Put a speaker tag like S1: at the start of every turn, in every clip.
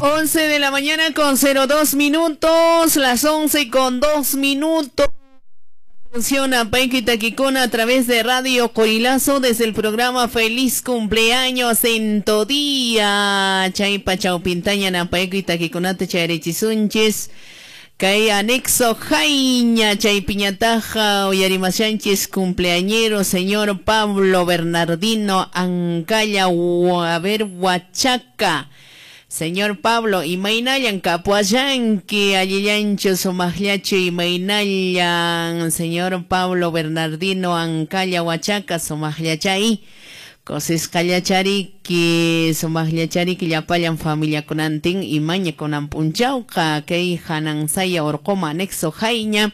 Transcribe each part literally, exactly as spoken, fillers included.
S1: once de la mañana con cero dos minutos, las once con dos minutos. Funciona Paiki Taquicona a través de Radio Corilazo desde el programa Feliz Cumpleaños en Todía. Chaypa Chawpintaña Napaiki Taquiconata Chayarichisunchis. Kay anexo Jaiña Chaypiñataja Oyarimasanchis cumpleañero señor Pablo Bernardino Ancalla a ver Huachaca. Señor Pablo, imaynallan kapuallanki, allillanchu sumaqllachu imaynallan, señor Pablo Bernardino Ancalla Huachaca, sumaqllachay, kusisqallachariki, sumaqllachariki llapallan familiakunantin imaña kunan p'unchawqa, kay hanansaya urquma anexo Jaiña.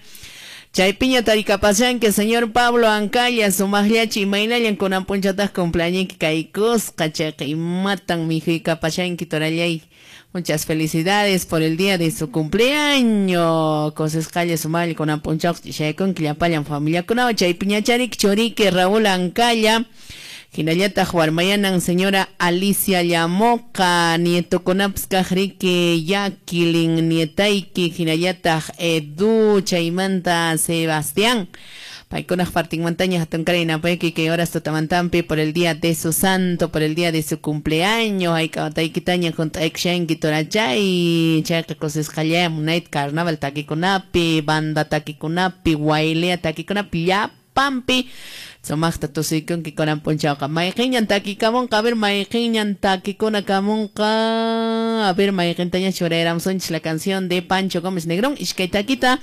S1: Chaypiña tarikapashanki, señor Pablo Ancalla, sumaqllachu imaynallan kunan p'unchataq cumpleañinki kaykusqa, chayqa imatan mijuykapashanki torallay. Muchas felicidades por el día de su cumpleaños. Kusisqalla sumaqlla kunan p'unchawqa chaykunki llapallan familiakunawan. Chaypiñachariki churiki Raúl Ancalla. Hinallataq warmayanan señora Alicia Llamoca, nietokunapas kaqriki Jacqueline, nietayki, hinallataq Edu, chaymanta Sebastián. Paykunaq partinmantaña hatunkaray napayki kay horas tutamantampi por el día de su santo, por el día de su cumpleaños. Hayk'awataykitaña junt'aykushanki torachay, chayqa kusisqallaya munayta carnaval takikunapi, banda takikunapi, waylea takikunapi, llapampi. Sumaqta tusuykunki kunan p'unchawqa. Mayqinñan takikamunqa, a ver, mayqinñan takikuna kamunqa. A ver, mayqintaña churayramusunchis la canción de Pancho Gómez Negrón, ishkay takita.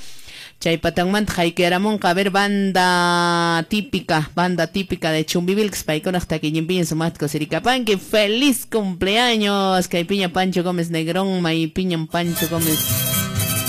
S1: Chay patanmanta haykuyaramunqa, a ver, banda típica, banda típica de Chumbivilcas, paykunaq takiñinpiña sumaqta kusirikapanki. ¡Feliz cumpleaños! Kaypiña Pancho Gómez Negrón, maypiñan Pancho Gómez